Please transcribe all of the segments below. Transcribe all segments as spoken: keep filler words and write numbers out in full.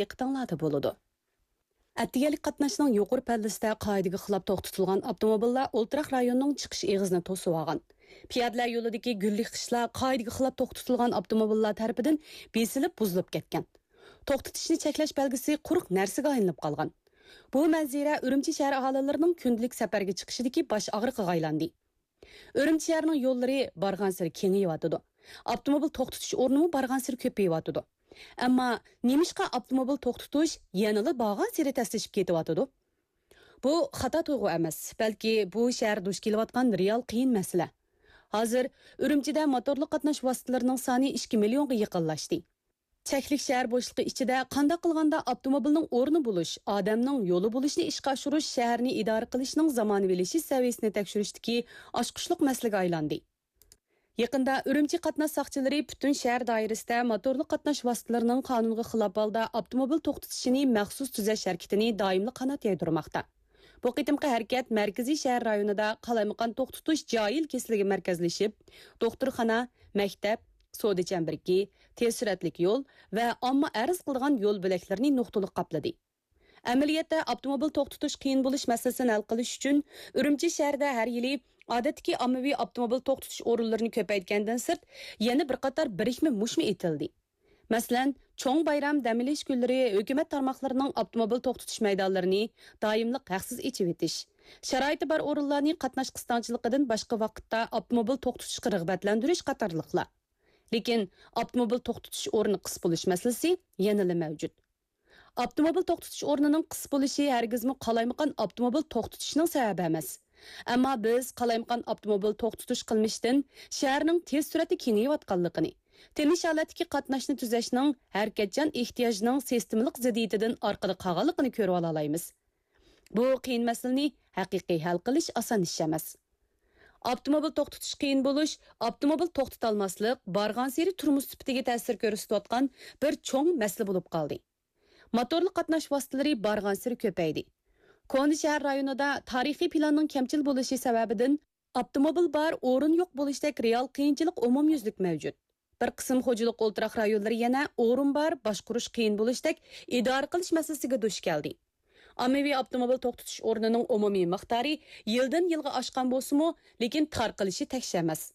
دىققىتىڭلاردا بولىدۇ. ئەتىگەنلىك قاتناشنىڭ يۇقىرى پەللىسىدە قائىدىگە خىلاپ توختىتىلغان ئاپتوموبىللار ئولتۇراق رايونىنىڭ چىقىش ئېغىزىنى توسۇۋالغان. پىيادىلەر يولىدىكى گۈللۈك خىشلار قائىدىگە خىلاپ توختىتىلغان ئاپتوموبىللار تەرىپىدىن بېسىلىپ بۇزۇلۇپ كەتكەن. توختىتىشنى چەكلەش بەلگىسى قۇرۇق نەرسىگە ئايلىنىپ قالغان. بۇ مەنزىرە ئۈرۈمچى شەھەر ئاھالىلىرىنىڭ كۈندىلىك سەپەرگە چىقىشىدىكى باش ئاغرىقىغا ئايلاندى. ئۈرۈمچى شەھىرىنىڭ يوللىرى بارغانسېرى كېڭىيىۋاتىدۇ. ئاپتوموبىل توختىتىش ئورنىمۇ بارغانسېرى كۆپىيىۋاتىدۇ. ئەمما نېمىشقا ئاپتوموبىل توختىتىش يەنىلا بارغانسېرى تەسلىشىپ كېتىۋاتىدۇ؟ بۇ خاتا تۇيغۇ ئەمەس، بەلكى بۇ شەھەر دۇچ كېلىۋاتقان رېئال قىيىن مەسىلە. ھازىر ئۈرۈمچىدە موتورلۇق قاتناش ۋاسىتىلىرىنىڭ سانى ئىككى مىليونغا يېقىنلاشتى. چەكلىك شەھەر بوشلۇقى ئىچىدە قانداق قىلغاندا ئاپتوموبىلنىڭ ئورنى بولۇش، ئادەمنىڭ يولى بولۇشنى ئىشقا ئاشۇرۇش شەھەرنى ئىدارە قىلىشنىڭ زامانىۋىلىشىش سەۋىيەسىنى تەكشۈرۈشتىكى ئاچقۇچلۇق مەسىلىگە ئايلاندى. يېقىندا ئۈرۈمچى قاتناش ساقچىلىرى پۈتۈن شەھەر دائىرىسىدە موتورلۇق قاتناش ۋاسىتىلىرىنىڭ قانۇنغا خىلاپ ھالدا ئاپتوموبىل توختىتىشىنى مەخسۇس تۈزەش ھەرىكىتىنى دائىملىق قانات يايدۇرماقتا. بۇ قېتىمقى ھەرىكەت مەركىزىي شەھەر رايونىدا قالايمىقان توختىتىش جاھىل كېسىلىگە مەركەزلىشىپ، دوختۇرخانا، مەكتەپ، سودا چەمبىرىكى، تېز سۈرئەتلىك يول ۋە ئامما ئەرز قىلىدىغان يول بۆلەكلىرىنى نۇقتىلىق قاپلىدى. ئەمەلىيەتتە، ئاپتوموبىل توختىتىش قىيىن بولۇش مەسىلىسىنى ھەل قىلىش ئۈچۈن، ئۈرۈمچى شەھىرىدە ھەر يىلى ئادەتتىكى ئاممىۋى ئاپتوموبىل توختىتىش ئورۇنلىرىنى كۆپەيتكەندىن سىرت، يەنە بىر قاتار بىرىكمە مۇشمۇ ئېتىلدى. مەسىلەن، چوڭ بايرام، دەم ئېلىش كۈنلىرى ھۆكۈمەت تارماقلىرىنىڭ ئاپتوموبىل توختىتىش مەيدانلىرىنى دائىملىق ھەقسىز ئېچىۋېتىش، شارائىتى بار ئورۇنلارنى قاتناش قىستاڭچىلىقىدىن باشقا ۋاقىتتا ئاپتوموبىل توختىتىشقا رىغبەتلەندۈرۈش قاتارلىقلار. لېكىن ئاپتوموبىل توختىتىش ئورنى قىس بولۇش مەسىلىسى يەنىلا مەۋجۇت. ئاپتوموبىل توختىتىش ئورنىنىڭ قىس بولۇشى ھەرگىزمۇ قالايمىقان ئاپتوموبىل توختىتىشنىڭ سەۋەبى ئەمەس. ئەمما بىز قالايمىقان ئاپتوموبىل توختىتىش قىلمىشىدىن شەھەرنىڭ تېز سۈرئەتتە كېڭىيىۋاتقانلىقىنى، تىنچ ھالەتتىكى قاتناشنى تۈزەشنىڭ ھەرىكەتچان ئېھتىياجنىڭ سىستېمىلىق زىددىيىتىدىن ئارقىدا قالغانلىقىنى كۆرۈۋالالايمىز. بۇ قىيىن مەسىلىنى ھەقىقىي ھەل قىلىش ئاسان ئىش ئەمەس. ئاپتوموبىل توختىتىش قىيىن بولۇش، ئاپتوموبىل توختىتالماسلىق بارغانسېرى تۇرمۇش سۈپىتىگە تەسىر كۆرسىتىۋاتقان بىر چوڭ مەسىلە بولۇپ قالدى. موتورلۇق قاتناش ۋاسىتىلىرى بارغانسېرى كۆپەيدى. كونا شەھەر رايونىدا تارىخىي پىلاننىڭ كەمچىل بولۇشى سەۋەبىدىن ئاپتوموبىل بار، ئورۇن يوق بولۇشتەك رېئال قىيىنچىلىق ئومۇميۈزلۈك مەۋجۇت. بىر قىسىم خوجىلىق ئولتۇراق رايونلىرى يەنە ئورۇن بار، باشقۇرۇش قىيىن بولۇشتەك ئىدارە قىلىش مەسىلىسىگە دۇچ كەلدى. ئاممىۋى ئاپتوموبىل توختىتىش ئورنىنىڭ ئومۇمىي مىقدارى يىلدىن يىلغا ئاشقان بولسىمۇ، لېكىن تارقىلىشى تەكشى ئەمەس.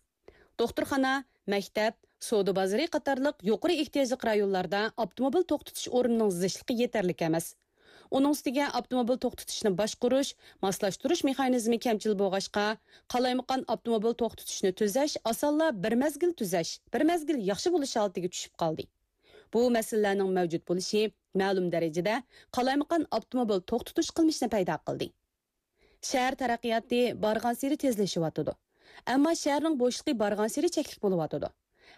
دوختۇرخانا، مەكتەپ، سودا بازىرى قاتارلىق يۇقىرى ئېھتىياجلىق رايونلاردا ئاپتوموبىل توختىتىش ئورنىنىڭ زىچلىقى يېتەرلىك ئەمەس. ئۇنىڭ ئۈستىگە ئاپتوموبىل توختىتىشنى باشقۇرۇش، ماسلاشتۇرۇش مېخانىزمى كەمچىل بولغاچقا، قالايمىقان ئاپتوموبىل توختىتىشنى تۈزەش ئاسانلا بىر مەزگىل تۈزەش، بىر مەزگىل ياخشى بولۇش ھالىتىگە چۈشۈپ قالدى. بۇ مەسىلىلەرنىڭ مەۋجۇت بولۇشى مەلۇم دەرىجىدە قالايمىقان ئاپتوموبىل توختىتىش قىلمىشىنى پەيدا قىلدى. شەھەر تەرەققىياتى بارغانسېرى تېزلىشىۋاتىدۇ. ئەمما شەھەرنىڭ بوشلۇقى بارغانسېرى چەكلىك بولۇۋاتىدۇ.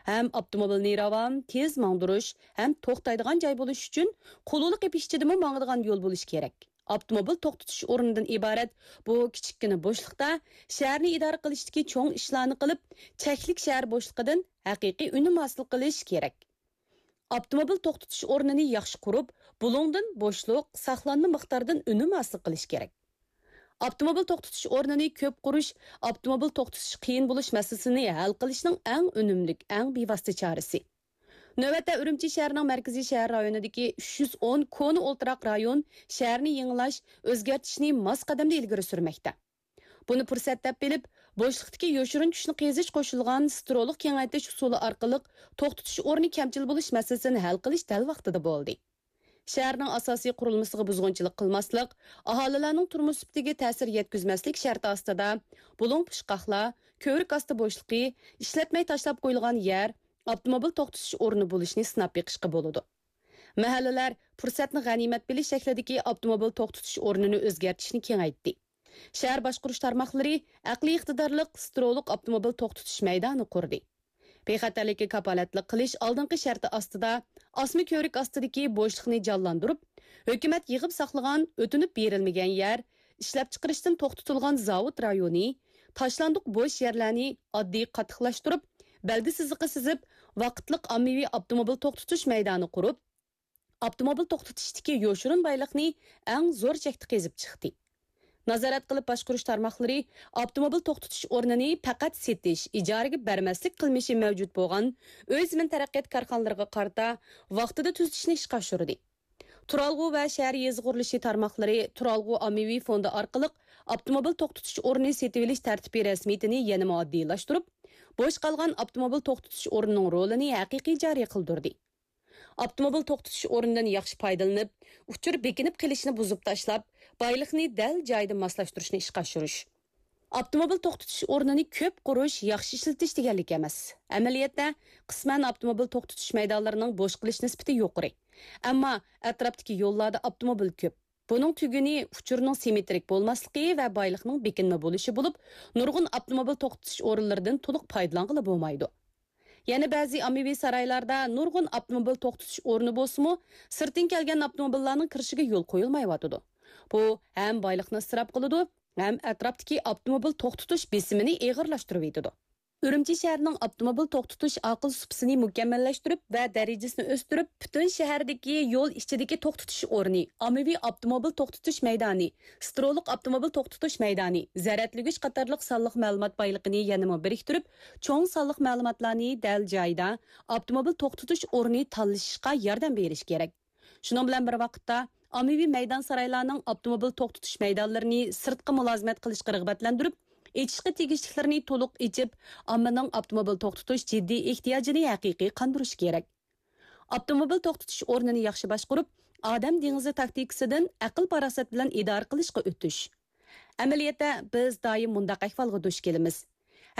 ھەم ئاپتوموبىلنى راۋان، تېز ماڭدۇرۇش ھەم توختايدىغان جاي بولۇش ئۈچۈن قۇلۇلۇق ئېپىش چىدىمى ماڭىدىغان يول بولۇشى كېرەك. ئاپتوموبىل توختىتىش ئورنىدىن ئىبارەت بۇ كىچىككىنە بوشلۇقتا شەھەرنى ئىدارە قىلىشتىكى چوڭ ئىشلارنى قىلىپ، چەكلىك شەھەر بوشلۇقىدىن ھەقىقىي ئۈنۈم ھاسىل قىلىش كېرەك. ئاپتوموبىل توختىتىش ئورنىنى ياخشى قۇرۇپ، بۇلۇڭدىن بوشلۇق، ساقلانما مىقداردىن ئۈنۈم ھاسىل قىلىش كېرەك. ئاپتوموبىل توختىتىش ئورنىنى كۆپ قۇرۇش ئاپتوموبىل توختىتىش قىيىن بولۇش مەسىلىسىنى ھەل قىلىشنىڭ ئەڭ ئۈنۈملۈك، ئەڭ بىۋاسىتە چارىسى. نۆۋەتتە ئۈرۈمچى شەھىرىنىڭ مەركىزىي شەھەر رايونىدىكى ئۈچ يۈز ئون كونا ئولتۇراق رايون شەھەرنى يېڭىلاش، ئۆزگەرتىشنى ماس قەدەمدە ئىلگىرى سۈرمەكتە. بۇنى پۇرسەت دەپ بىلىپ، بوشلۇقتىكى يوشۇرۇن كۈچنى قېزىش قوشۇلغان سترولۇق كېڭەيتىش ئۇسۇلى ئارقىلىق توختىتىش ئورنى كەمچىل بولۇش مەسىلىسىنى ھەل قىلىش دەل ۋاقتىدا بولدى. شەھەرنىڭ ئاساسىي قۇرۇلمىسىغا بۇزغۇنچىلىق قىلماسلىق، ئاھالىلەرنىڭ تۇرمۇش سۈپىتىگە تەسىر يەتكۈزمەسلىك شەرتى ئاستىدا، بۇلۇڭ پۇچقاقلار، كۆۋرۈك ئاستى بوشلۇقى، ئىشلەتمەي تاشلاپ قويۇلغان يەر، ئاپتوموبىل توختىتىش ئورنى بولۇشنى سىناپ بېقىشقا بولىدۇ. مەھەللىلەر پۇرسەتنى غەنىيمەت بىلىش شەكلىدىكى ئاپتوموبىل توختىتىش ئورنىنى ئۆزگەرتىشنى كېڭەيتتى. شەھەر باشقۇرۇش تارماقلىرى ئەقلىي ئىقتىدارلىق سترولۇق ئاپتوموبىل توختىتىش مەيدانى قۇردى. بىخەتەرلىككە كاپالەتلىك قىلىش ئالدىنقى شەرتى ئاستىدا ئاسما كۆۋرۈك ئاستىدىكى بوشلۇقنى جانلاندۇرۇپ، ھۆكۈمەت يىغىپ ساقلىغان ئۆتۈنۈپ بېرىلمىگەن يەر، ئىشلەپچىقىرىشتىن توختىتىلغان زاۋۇت رايونى، تاشلاندۇق بوش يەرلەرنى ئاددىي قاتتىقلاشتۇرۇپ، بەلگە سىزىقى سىزىپ، ۋاقىتلىق ئاممىۋى ئاپتوموبىل توختىتىش مەيدانى قۇرۇپ، ئاپتوموبىل توختىتىشتىكى يوشۇرۇن بايلىقنى ئەڭ زور چەكتە قېزىپ چىقتى. نازارەت قىلىپ باشقۇرۇش تارماقلىرى ئاپتوموبىل توختىتىش ئورنىنى پەقەت سېتىش، ئىجارىگە بەرمەسلىك قىلمىشى مەۋجۇت بولغان ئۆي زېمىن تەرەققىيات كارخانىلىرىغا قارىتا ۋاقتىدا تۈزىتىشنى ئىشقا ئاشۇردى. تۇرالغۇ ۋە شەھەر يېزا قۇرۇلۇشى تارماقلىرى تۇرالغۇ ئاممىۋى فوندى ئارقىلىق ئاپتوموبىل توختىتىش ئورنى سېتىۋېلىش تەرتىپى رەسمىيىتىنى يەنىمۇ ئاددىيلاشتۇرۇپ، بوش قالغان ئاپتوموبىل توختىتىش ئورنىنىڭ رولىنى ھەقىقىي جارى قىلدۇردى. ئاپتوموبىل توختىتىش ئورنىدىن ياخشى پايدىلىنىپ، ئۇچۇر بېكىنىپ قېلىشنى بۇزۇپ تاشلاپ، بايلىقنى دەل جايىدا ماسلاشتۇرۇشنى ئىشقا ئاشۇرۇش. ئاپتوموبىل توختىتىش ئورنىنى كۆپ قۇرۇش، ياخشى ئىشلىتىش دېگەنلىك ئەمەس. ئەمەلىيەتتە، قىسمەن ئاپتوموبىل توختىتىش مەيدانلىرىنىڭ بوش قېلىش نىسبىتى يۇقىرى. ئەمما ئەتراپتىكى يوللاردا ئاپتوموبىل كۆپ. بۇنىڭ تۈگۈنى ئۇچۇرنىڭ سىممېترىك بولماسلىقى ۋە بايلىقنىڭ بېكىنمە بولۇشى بولۇپ، نۇرغۇن ئاپتوموبىل توختىتىش ئورۇنلىرىدىن تولۇق پايدىلانغىلى بولمايدۇ. يەنە بەزى ئاممىۋى سارايلاردا نۇرغۇن ئاپتوموبىل توختىتىش ئورنى بولسىمۇ، سىرتتىن كەلگەن ئاپتوموبىللارنىڭ كىرىشىگە يول قويۇلمايۋاتىدۇ. بۇ ھەم بايلىقنى ئىسراپ قىلىدۇ، ھەم ئەتراپتىكى ئاپتوموبىل توختىتىش بېسىمىنى ئېغىرلاشتۇرۇۋېتىدۇ. ئۈرۈمچى شەھىرىنىڭ ئاپتوموبىل توختىتىش ئاقىل سۇپىسىنى مۇكەممەللەشتۈرۈپ ۋە دەرىجىسىنى ئۆستۈرۈپ، پۈتۈن شەھەردىكى يول ئىچىدىكى توختىتىش ئورنى، ئاممىۋى ئاپتوموبىل توختىتىش مەيدانى، سترولۇق ئاپتوموبىل توختىتىش مەيدانى، زەرەتلىگۈچ قاتارلىق سانلىق مەلۇمات بايلىقىنى يەنىمۇ بىرىكتۈرۈپ، چوڭ سانلىق مەلۇماتلارنى دەل جايىدا ئاپتوموبىل توختىتىش ئورنى تاللىشىشقا ياردەم بېرىش كېرەك. شۇنىڭ بىلەن بىر ۋاقىتتا، ئاممىۋى مەيدان سارايلارنىڭ ئاپتوموبىل توختىتىش مەيدانلىرىنى سىرتقا مۇلازىمەت قىلىشقا رىغبەتلەندۈرۈپ، ئېچىشقا تېگىشلىكلىرىنى تولۇق ئېچىپ، ئاممىنىڭ ئاپتوموبىل توختىتىش جىددىي ئېھتىياجىنى ھەقىقىي قاندۇرۇش كېرەك. ئاپتوموبىل توختىتىش ئورنىنى ياخشى باشقۇرۇپ، ئادەم دېڭىزى تاكتىكىسىدىن ئەقىل-پاراسەت بىلەن ئىدارە قىلىشقا ئۆتۈش. ئەمەلىيەتتە، بىز دائىم مۇنداق ئەھۋالغا دۇچ كېلىمىز.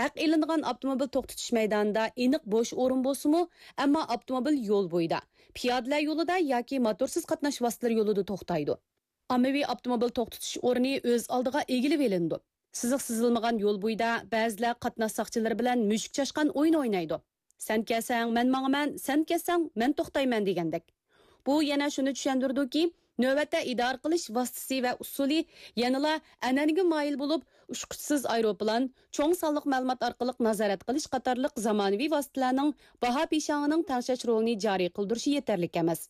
ھەق ئېلىنغان ئاپتوموبىل توختىتىش مەيدانىدا ئېنىق بوش ئورۇن بولسىمۇ، ئەمما ئاپتوموبىل يول بويىدا، پىيادىلەر يولىدا ياكى موتورسىز قاتناش ۋاسىتىلىرى يولىدا توختايدۇ. ئاممىۋى ئاپتوموبىل توختىتىش ئورنى ئۆز ئالدىغا ئىگىلىۋېلىنىدۇ. سىزىق سىزىلمىغان يول بويىدا بەزىلەر قاتناش ساقچىلىرى بىلەن مۈشۈك چاشقان ئويۇنى ئوينايدۇ. «سەن كەلسەڭ، مەن ماڭىمەن، سەن كەتسەڭ، مەن توختايمەن» دېگەندەك. بۇ يەنە شۇنى چۈشەندۈرىدۇكى، نۆۋەتتە ئىدارە قىلىش ۋاسىتىسى ۋە ئۇسۇلى يەنىلا ئەنئەنىگە مايىل بولۇپ، ئۇچقۇچىسىز ئايروپىلان، چوڭ سانلىق مەلۇمات ئارقىلىق نازارەت قىلىش قاتارلىق زامانىۋى ۋاسىتىلەرنىڭ باھا پىشاڭىنىڭ تەڭشەش رولىنى جارى قىلدۇرۇشى يېتەرلىك ئەمەس.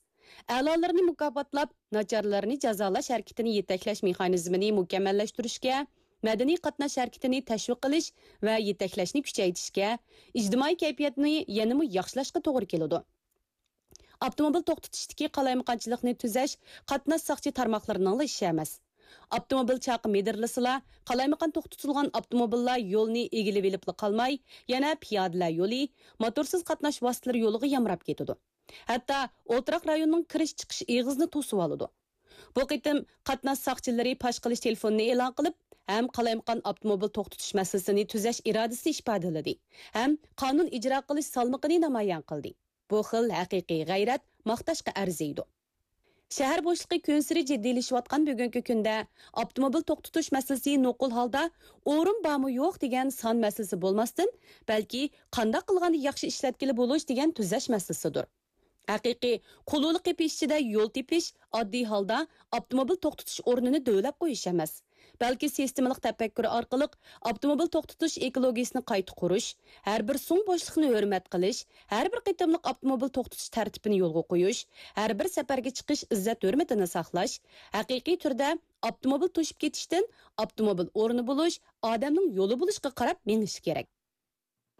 ئەلالىرىنى مۇكاپاتلاپ، ناچارلىرىنى جازالاش ھەرىكىتىنى يېتەكلەش مېخانىزمىنى مۇكەممەللەشتۈرۈشكە، مەدەنىي قاتناش ھەرىكىتىنى تەشۋىق قىلىش ۋە يېتەكلەشنى كۈچەيتىشكە، ئىجتىمائىي كەيپىياتنى يەنىمۇ ياخشىلاشقا توغرا كېلىدۇ. ئاپتوموبىل توختىتىشتىكى قالايمىقانچىلىقنى تۈزەش قاتناش ساقچى تارماقلىرىنىڭلا ئىشى ئەمەس. ئاپتوموبىل چاقى مىدىرلىسىلا، قالايمىقان توختىتىلغان ئاپتوموبىللار يولنى ئىگىلىۋېلىپلا قالماي، يەنە پىيادىلەر يولى، موتورسىز قاتناش ۋاسىتىلىرى يولىغا يامراپ كېتىدۇ. ھەتتا ئولتۇراق رايوننىڭ كىرىش-چىقىش ئېغىزىنى توسۇۋالىدۇ. بۇ قېتىم قاتناش ساقچىلىرى پاش قىلىش تېلېفونىنى ئېلان قىلىپ، ھەم قالايمىقان ئاپتوموبىل توختىتىش مەسىلىسىنى تۈزەش ئىرادىسىنى ئىپادىلىدى، ھەم قانۇن ئىجرا قىلىش سالمىقىنى نامايان قىلدى. بۇ خىل ھەقىقىي غەيرەت ماختاشقا ئەرزىيدۇ. شەھەر بوشلۇقى كۈنسېرى جىددىيلىشىۋاتقان بۈگۈنكى كۈندە ئاپتوموبىل توختىتىش مەسىلىسى نوقۇل ھالدا ئورۇن بارمۇ يوق دېگەن سان مەسىلىسى بولماستىن، بەلكى قانداق قىلغاندا ياخشى ئىشلەتكىلى بولۇش دېگەن تۈزەش مەسىلىسىدۇر. ھەقىقىي قۇلۇلۇق قېپى ئىچىدە يول تېپىش ئاددىي ھالدا ئاپتوموبىل توختىتىش ئورنىنى دۆۋىلەپ قويۇش ئەمەس، بەلكى سىستېمىلىق تەپەككۇر ئارقىلىق ئاپتوموبىل توختىتىش ئېكولوگىيىسىنى قايتا قۇرۇش، ھەر بىر سۇڭ بوشلۇقنى ھۆرمەت قىلىش، ھەر بىر قېتىملىق ئاپتوموبىل توختىتىش تەرتىپىنى يولغا قويۇش، ھەر بىر سەپەرگە چىقىش ئىززەت-ھۆرمىتىنى ساقلاش، ھەقىقىي تۈردە ئاپتوموبىل توشۇپ كېتىشتىن ئاپتوموبىل ئورنى بولۇش، ئادەمنىڭ يولى بولۇشقا قاراپ مېڭىشى كېرەك.